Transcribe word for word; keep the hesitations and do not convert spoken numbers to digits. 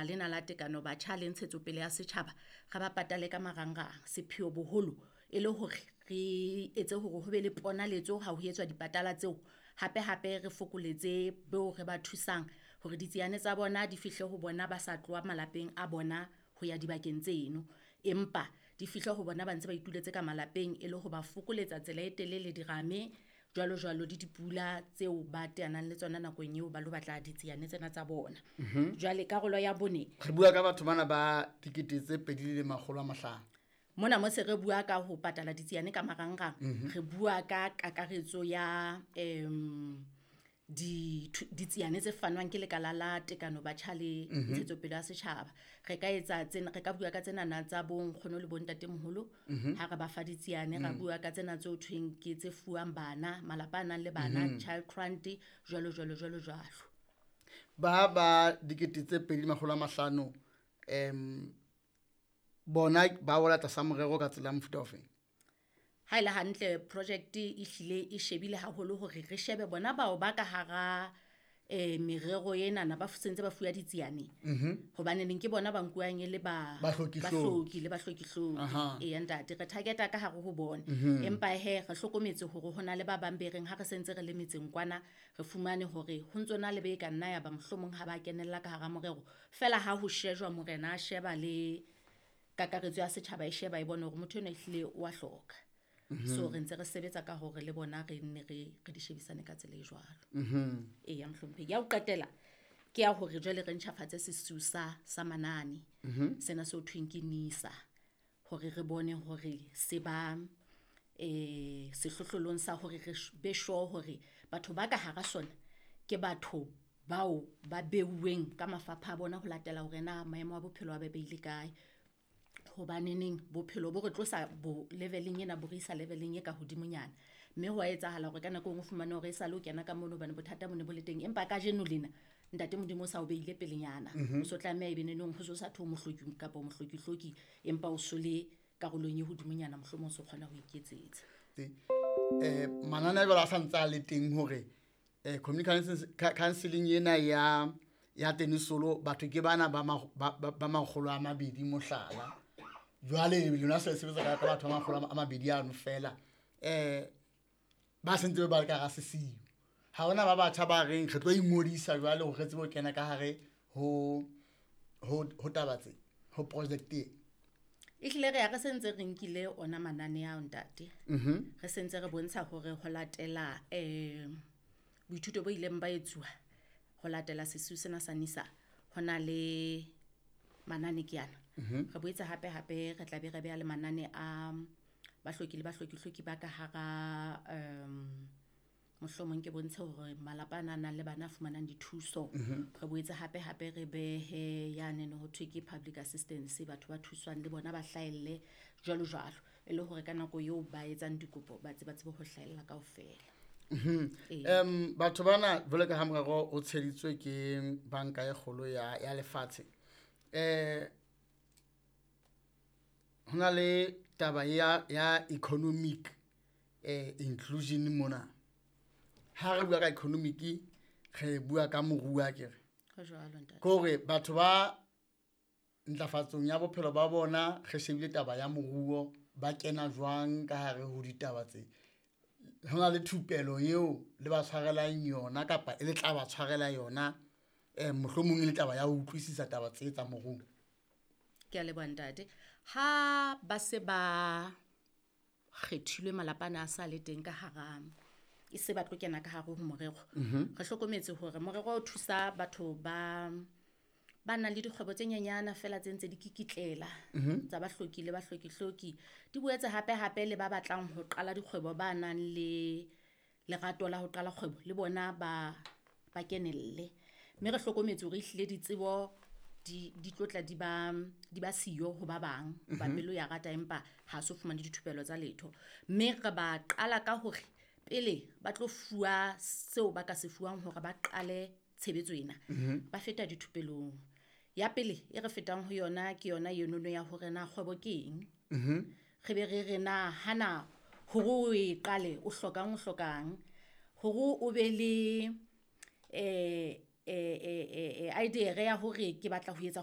lekala lena la tekano batjha le ntshetsopele ya setjhaba re ba patale ka marangrang. Sepheo boholo e le hore re etse hore ho be le ponaletso ha ho etswa dipatala tseo. Hape hape re fokoletse beo re ba thusang hore ditsiane tsa bona di fihle ho bona ba sa tloha malapeng a bona ho ya dibakeng tseno. Empa di fihle ho bona ba ntse ba ituletse ka malapeng e le ho ba fokoletsa tsela e telele, dirame jwalo jwalo le dipula tseo ba teanang le tsona nakong eo ba lo batla ditsiane tsena tsa bona. Jwale karolo ya bone, Re bua ka batho bana ba dikete tse pedi le makgolo a mahlano. Mona mo se re bua ka ho patala ditsiane ka marangrang, re bua ka kakaretso ya um ditsiane tse fanwang ke lekala la tekano batjha le ntshetsopele ya setjhaba. Re ka etsa tsena, re ka bua ka tsenana tsa bo nkgono le bo ntatemoholo ha re ba fa ditsiane, ra bua ka tsena tse ho thweng ke tse fuwang bana, malapa a nang le bana, child grant jwalo jwalo jwalo jwalo. Ba ba dikete tse pedi le makgolo a mahlano um bona ba wela tlasa morero ka tsela ya mofuta ofeng? Ha e le hantle project e hlile e shebile haholo hore re shebe bona bao ba ka hara um merero enana ba sentse ba fuwa ditsiane. Hobaneneng ke bona ba nkuwang e le ba Bahloki-hloki. Bahloki le bahloki-hloki. Aha. Eya ntate, re target-a ka hare ho bona. Empa hee re hlokometse hore ho na le ba bang be reng ha re sentse re le metseng kwana, re fumane hore ho ntso na le be ka nna ya ba mohlomong ha ba kenella ka hara morero. Feela ha ho shejwa morena a sheba le kakaretso ya setjhaba e sheba e bone hore motho enwa ehlile o wa hloka. So re ntse re sebetsa ka hore le bona re nne re re di shebisane ka tsela e jwalo. Eya mohlomphehi. Ya ho qetela ke ya hore jwale re ntjhafatse sesiu sa sa manane. Sena se ho thweng ke NISA hore re bone hore se ba eh sehlohlolong sa hore re be sure hore batho ba ka hara sona ke batho bao ba beuweng ka mafapha a bona ho latela hore na maemo a bophelo a ba beile kae. Hobaneneng bophelo bo re tlosa bo level-eng ena bo re isa level-eng e ka hodimonyana. Mme ho wa etsahala hore ka nako e nngwe o fumane hore e sale o kena ka mono hobane bothata bo ne bo le teng. Empa kajeno lena ntate Modimo o sa o beile pelenyana. O so tlameha ebe neneng ho so sa thwe o mohloki kapa o mohloki-hloki, empa o so le karolong e hodimonyana mohlomong o so kgona ho iketsetsa. Eh manane a jwalo a sa ntse a le teng hore eh community counseling ena ya ya tenisolo batho ke bana ba ba ba makgolo a mabedi mohlala. Jwale lona se sebetsa ka batho ba makgolo a mabedi ano fela eh ba sentse ba le ka hara sesiu. Ha hona ba batjha ba reng re tlo ingodisa jwale hore re tsebe ho kena ka hare ho ho ho taba tse ho project e. Ehlile re ya re sentse re nkile ona manane ao ntate. Re sentse re bontsha hore ho latela um boithuto bo ileng ba etsuwa ho latela sesiu sena sa NISA ho na le manane ke ana. Re boetse hape hape re tla be re beha le manane a bahloki le bahloki-hloki ba ka hara um mohlomong ke bontshe hore malapa ana a nang le bana a fumanang dithuso. Re boetse hape hape re behe yane ho thwe ke public assistance, batho ba thuswang le bona ba hlahelle jwalo jwalo. E le hore ka nako eo ba etsang dikopo ba tseba tsebe ho hlahella kaofela. Um batho bana jwalo ka ha morero o tsheditswe ke banka e kgolo ya ya lefatshe. Eh hona le taba ya ya economic eh inclusion mona. Ha re bua ka economic re bua ka moruo akere. Ho jwalo ntate. Ke hore batho ba ntlafatsong ya bophelo ba bona re shebile taba ya moruo ba kena jwang ka hare ho ditaba tse. Hona le thupelo eo le ba tshwarelang yona kapa e le tla ba tshwarela yona eh mohlomong e le taba ya ho utlwisisa taba tse tsa moruo. Ke a leboha ntate. Ha ba se ba kgethilwe malapa ana a sa le teng ka hara e se ba tlo kena ka hare ho morero. Re hlokometse hore morero o thusa batho ba ba nang le dikgwebo tse nyenyana fela tse ntse di kikitlela tsa bahloki le bahloki-hloki. Di boetse hape hape le ba batlang ho qala dikgwebo ba nang le lerato la ho qala kgwebo le bona ba ba kenelle. Mme re hlokometse hore ehlile ditsebo di di tlotla di ba di ba siyo ho ba bang ba pelo ya rata empa ha so fumane dithupelo tsa letho. Mme re ba qala ka hore pele ba tlo fuwa seo ba ka se fuwang hore ba qale tshebetso ena, ba feta dithupelong. Ya pele e re fetang ho yona ke yona enono ya hore na kgwebo ke eng. Re be re re na hana hore o e qale o hlokang o hlokang hore o be le eh eh eh idea ya hore ke batla ho etsa